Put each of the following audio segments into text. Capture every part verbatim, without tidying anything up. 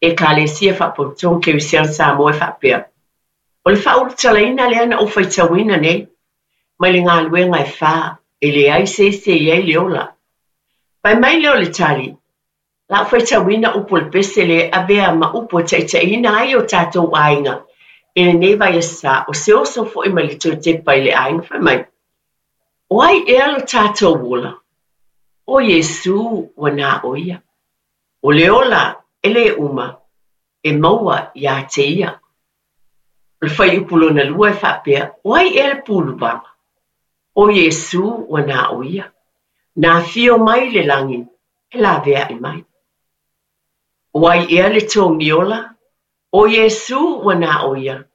Ekalesia Faapotopotoga Kerisiano Samoa e faapea, O le faaulutalaina lea na ou faitauina nei mai le galuega e fa e leai se isi e i ai le ola. Fai mai lea o le tali, O le a ou faitauina upu o le pese lea e avea ma upu e taitaiina ai o tatou aiga i lenei vaiaso sa, o se oso foi mai le toe tepa i le aiga. Fai mai, O ai ea lo tatou ola? O Iesū ua na o ia. O le ola e lē uma e maua iā te ia. O le fuaiupu lona lua e faapea, O ai ea le puluvaga? O Iesū ua na o ia. Na afio mai le lagi e laveai mai. O ai ea le togiola? O Iesū ua na o ia.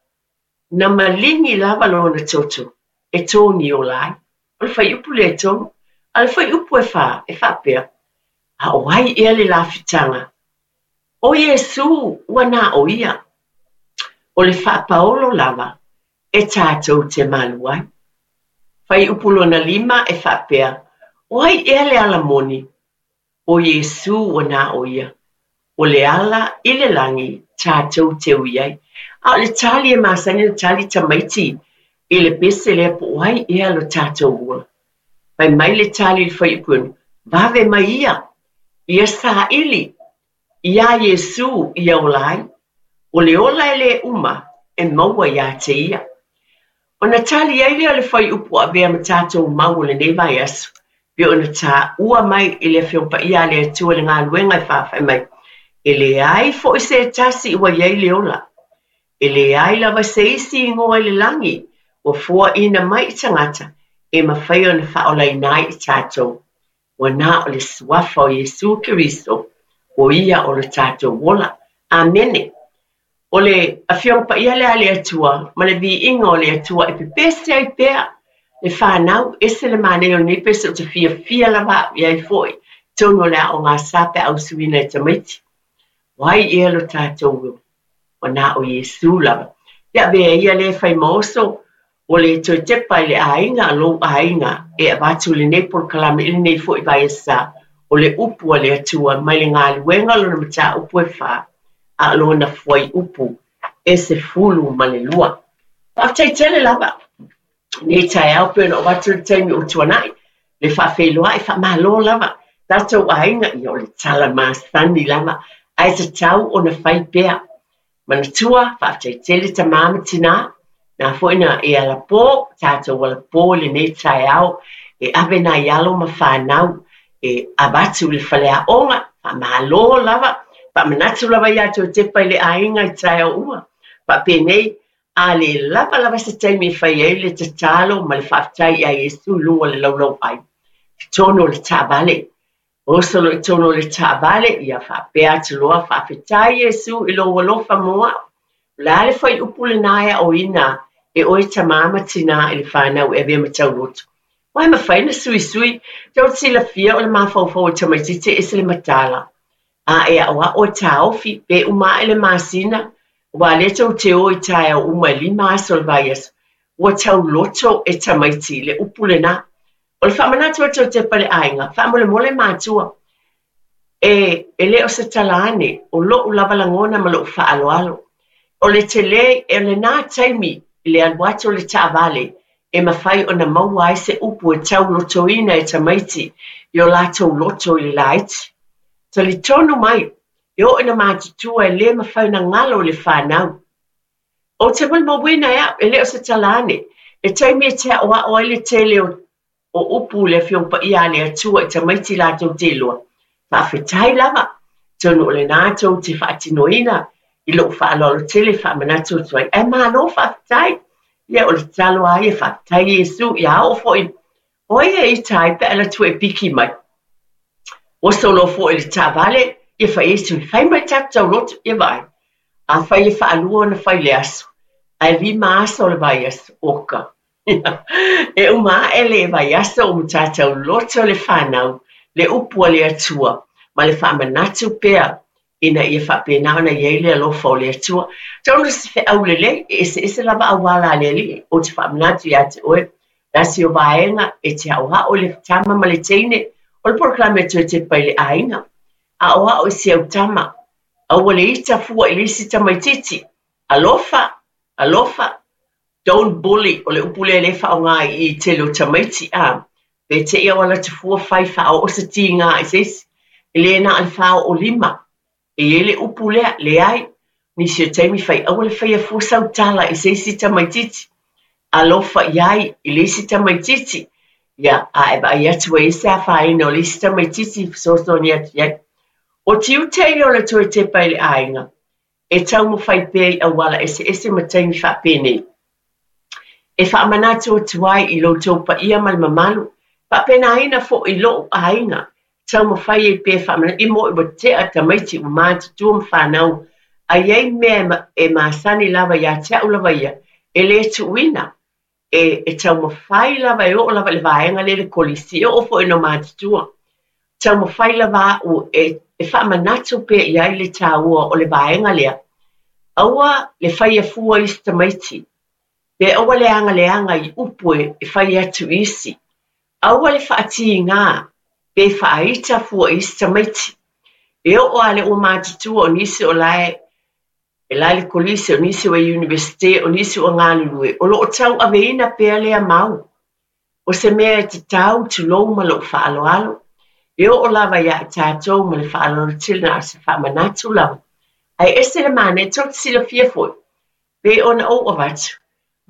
Na maligi lava lona toto e togiola ai. O le fuaiupu lea e tolu. A o le fuaiupu e fā e faapea, A o ai ea le lafitaga? O Iesū ua na o ia. O le faapaolo lava e tatou te malu ai. Fuaiupu lona lima e faapea, O ai ea le ala moni? O Iesū ua na o ia. O le ala i le lagi tatou te ui ai. A o le tali e masani ona tali tamaiti i le pese lea po o ai ea lo tatou ola. Fai mai le tali i le fuaiupu e ono, Vave mai ia, ia saili iā Iesū ia ola ai. O le ola e lē uma e maua iā te ia. Ona tali ai lea o le fuaiupu ua avea ma tatou mau o lenei vaiaso, pei ona taua mai i le Afioga Paia a le Atua i le galuega e fa, fai mai, E leai foi se tasi ua i ai le ola. E leai lava se isi igoa i le lagi ua foaina mai i tagata e mafai ona faaolaina ai i tatou. Ua na o le suafa o Iesū Keriso, o ia o lo tatou ola. Amene. O le Afioga Paia lea a le Atua ma le viiga o le Atua e pepese ai pea le fanau. Ese le manaia o lenei pese, ou te fiafia lava au i ai foi i totonu o le aoga sa pe a usuina e tamaiti. O ai ea lo tatou ola? Ua na o Iesū lava. Ia avea ia lea e fai ma oso o le toe tepa i le aiga, lou aiga, e avatu lenei polokalame i lenei foi vaiaso sa, o le upu a le Atua mai le galuega o lona mataupu e fa, a o lona fuaiupu e sefulu ma le lua. Faafetai tele lava nei taeao pei ona oo atu le taimi ua tuanai le faafeiloai. Faamalo lava tatou aiga, ia o le tala masani lava ae tatau ona fai pea. Manatua, faafetai tele tamā ma tinā, na foi na e alapō, tatou alapō i lenei taeao e ave nai alo ma fanau e avatu i le faleaoga. Faamalo lava, faamanatu lava iā toe tepa i le aiga i taeao uma. Faapenei, a le lava lava se taimi e fai ai le tatalo ma le faafetai iā Iesu i luga o le laulauai i totonu o le taavale. Oso loa i totonu o le taavale, ia faapea atu loa, Faafetai Iesu i lou alofa mo au. O le a le fuaiupu lenā e aoina e oe tamā ma tinā i le fanau e avea ma tauloto? Aua e mafai ona suisui. Tou te silafia o le mafaufau o tamaitiiti e ese le mataala. A e aoao e taofi pe uma ae le masina, aua o lea tou te o i taeao uma e lima aso o le vaiaso, ua tauloto e tamaiti le upu lenā. O le faamanatu atu o tepa i le aiga, faamolemole matua, e, e le o se tala ane, o lo'u lava lagona ma lo'u faaaloalo. O le telē o lenā taimi i le alu atu o le taavale e mafai ona maua ai se upu e taulotoina e tamaiti i o latou loto i le laiti. Talitonu mai, e oo ina matutua e lē mafai ona galo i le fanau. Ou te molimauina e au, e le o se tala ane, le taimi e te aoao ai le tele o o upu i le Afioga Paia a le Atua i tamaiti latou te iloa. Faafetai lava, atonu o lenā tou te faatinoina i lou faaaloalo tele e faamanatu atu ai. Ae malo faafetai. Ia, o le tatalo lava ia, faafetai Iesu, ia oo foi o ai e ita ai pe a alu atu e piki mai. Oso loa foi i le taavale, ia fai ai sui, fai mai tatou tauloto, ia vaai. Afai e faalua ona fai i le aso, ae lima aso o le vaiaso, oka. E uma ae le vaiaso ua matua tauloto le fanau, le upu a le Atua, ma le faamanatu pea ina ia faapena ona i ai le alofa o le Atua. Tau se feau lelei, e eseese lava auala a le Alii. Ou te faamanatu iā te oe, tasi o vaega e te aoao i le tama ma le teine, o le polokalame e toe tepa i le aiga. Aoao i si au tama, Aua le ita fua i le isi tamaitiiti. Alofa, alofa. Don't bully, o le upu lea lea e faaaoga i i tele o tamaiti a. Pe te i au ala atu fua fai faaoo se tiga i se isi. E le na o le faaoo lima. E i ai le upu lea, leai. Nisi o taimi fai aua le faia fua sau tala i se isi tamaitiiti. Alofa i ai i le isi tamaitiiti. Ia, a e vaai atu ai se afaina o le isi tamaitiiti fesoasoani atu i ai. O tiute ia o le toe tepa i le aiga, e taumafai pea i auala eseese ma taimi faapenei. E faamanatu atu ai i lo outou paia ma le mamalu, faapenaina foi i lou aiga, taumafai ai pea faamanatu, i mo i ua tea tamaiti ua matutua ma fanau, a i ai mea e masani lava ia te au lava ia, e le tuuina. E, e taumafai lava e oo lava i le vaega lea i le kolisi, e oo foi ina matutua. Taumafai lava au e, e faamanatu pea i ai le taua o le vaega lea. Aua le faia fua isi tamaiti. Pe aua le agaleaga i upu e fai atu i isi. Aua le faatiga pe faaita fua i isi tamaiti. E oo lava le ua matutua o nisi o lae e la le kolisi, o nisi o e universite, o nisi o galulue, o loo tauaveina pea lea mau. O se mea e tatau tulou ma lou faaaloalo. E oo lava ia i tatou ma le faaaloalo tele na o se faamanatu lava. Ae ese le manaia, tou te silafia foi, pe ona ou avatu,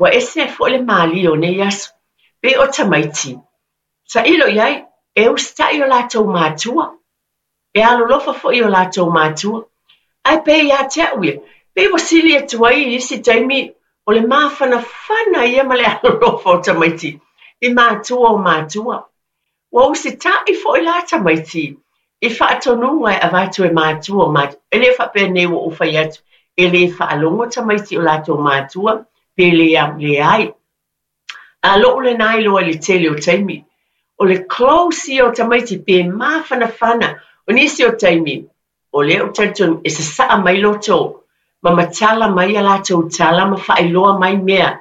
ua ese foi le malie o nei aso. Pe o tamaiti, sailo i ai, e usitai o latou matua. E alolofa foi o latou matua. Ae pe ia te au ia, pe ua sili atu ai i isi taimi o le mafanafana ia ma le alolofa o tamaiti i matua o matua. Ua usitai foi la tamaiti i faatonuga e avatu e matua o matua. E le faapea nei ua ou fai atu, e le faalogo tamaiti o latou matua pe le leai. A lou lena iloa i le tele o taimi. O le close ia o tamaiti pe mafanafana. O nisi o taimi, o lea ou talitonu e sasaa mai loto, ma matala mai a latou tala ma faailoa mai mea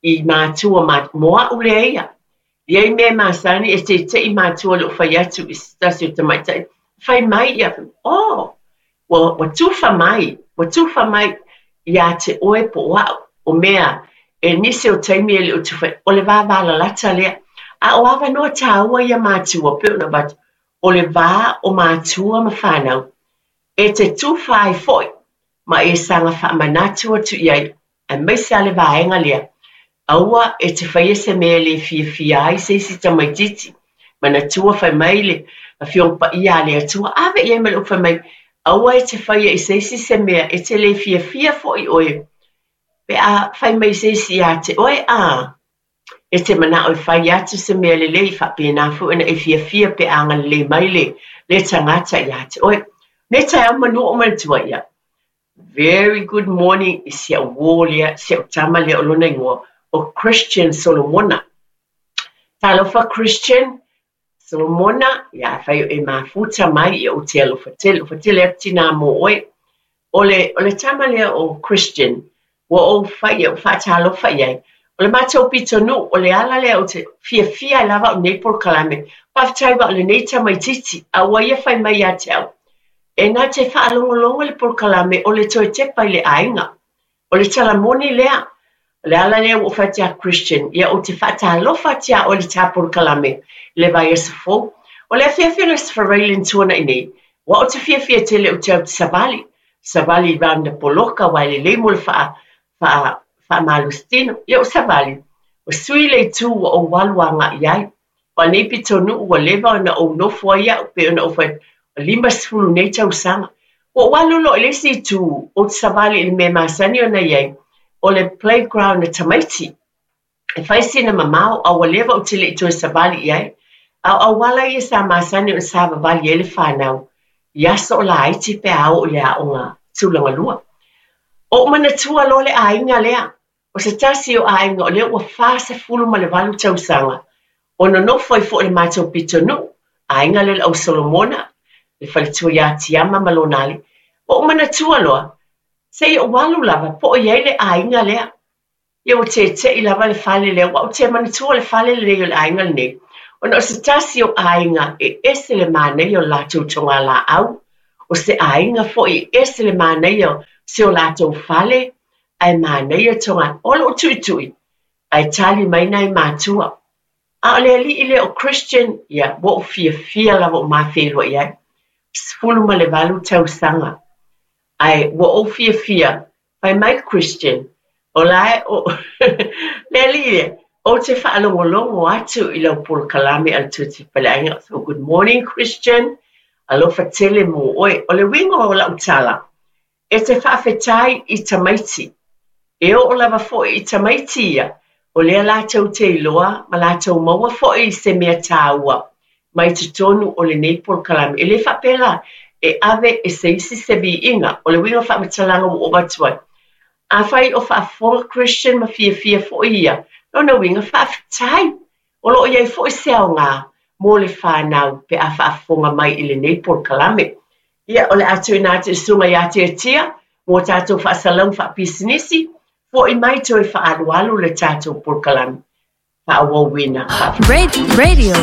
i matua ma mo au lea ia. I ai mea masani e teitei matua le o fai atu i se tasi o tamaitai. Fai mai ia, oh, ua, ua tufa mai, ua tufa mai ia te oe po o au, o mea, e nisi o taimi e le o tufa, o le vavalalata lea. A o avanoa tāua ia matua, pe ona avatu, o le vā o matua ma fanau, e te tufa ai foi, ma e saga faamanatu atu i ai, aemaise lava le vaega lea. Aua e te faia se mea le fiafia ai se isi tamaitiiti. Manatua fai mai le Afioga Paia a le Atua, ave i ai ma le upu fai mai, aua e te faia i se isi se mea e te le fiafia foi oe. Pe a fai mai se isi ia te oe, a e te manao e fai atu se mea lelei, faapena foi ona e fiafia pe a agalelei mai le, le tagata ia te oe. Nei taeao manu o manatua ia. Very good morning i si au uō lea, si au tama lea o lona igoa, o Christian Solomona. Talofa Christian Solomona, ia afai o e mafuta mai, ia ou te alofa tele, alofa tele atu tinā mo oe. O le, o le tama lea o Christian, ua ou fai ia, faatalofa i ai. O le matou pitonuu, o le ala lea ou te fiafia ai lava au nei polokalame. Faafetai aua o lenei tamaitiiti, a ua ia fai mai ia te au. E na te faalogologo i le polokalame o le toe tepa i le aiga. O le tala moni lea, o le ala lea ua ou fai atu ia Christian, ia ou te faatalofa atu ia oe i le ta polokalame i le vaiaso fou. O le afiafi o le Aso Faraile na tuanai nei, ua ou te fiafia tele ou te au te savali. Savali i round poloka aua e lelei mo le faa, faa, faamalositino. Ia ou savali, ua sui le itu ua ou alu agai ai. Ua nei pitonuu ua leva ona ou nofo ai au pe ona ou fai atu, lima sefulu nei tausaga. Ua ou alu loa i le isi itu, ou te savali i le mea masani ona i ai, o le playground a tamaiti. E fai sina mamao, a ua leva ou te le i toe savali i ai. A o auala ia sa masani ona savavali ai le fanau, i aso o laiti pe a oo i le aoga tulaga lua. O ou manatua loa le aiga lea, o se tasi o aiga o lea ua fasefulu ma le valu tausaga, o nonofo ai foi i le matou pitonuu, aiga lea o le au Solomona, le faletua ia Tiama ma lona alii. Ua ou manatua loa, seia ou alu lava po o i ai le aiga lea. Ia ua tete'i lava le fale lea, ua ou te manatua le fale lenei o le aiga lenei, ona o se tasi o aiga e ese le manaia o le latou togalaau, O se aiga foʻi, e ese le manaia o si o latou fale, ae manaia toga o loo tuʻituʻi, ae tali mai nai matua. A o le aliʻi lea o Christian, ia ua ou fiafia lava o ma feiloai ai. Sefulu ma le valu tausaga. Ae ua ou fiafia, fai mai Christian, o la e o le aliʻi lea, ou te faalogologo atu i lau polokalame a le Tusi Paleaiga. So good morning, Christian. Alofa tele mo oe. O le uiga o lau tala, e te faafetai i tamaiti. E oo lava foʻi i tamaiti ia, o lea latou te iloa ma latou maua foʻi i se mea tāua mai totonu o lenei polokalame. E le faapea e ave e se isi se viiga, o le uiga o faamatalaga ua ou avatu ai. Afai o faafofoga Christian ma fiafia foʻi ia, lona uiga faafetai. O loo iai foʻi se aogā mo le fanau pe a faafofoga mai i lenei polokalame. Ia, o le a tuuina atu i susuga ia Tiatia mo tatou faasalauga faapisinisi, foʻi mai toe faaalualu le tatou polokalame faaauauina. Radio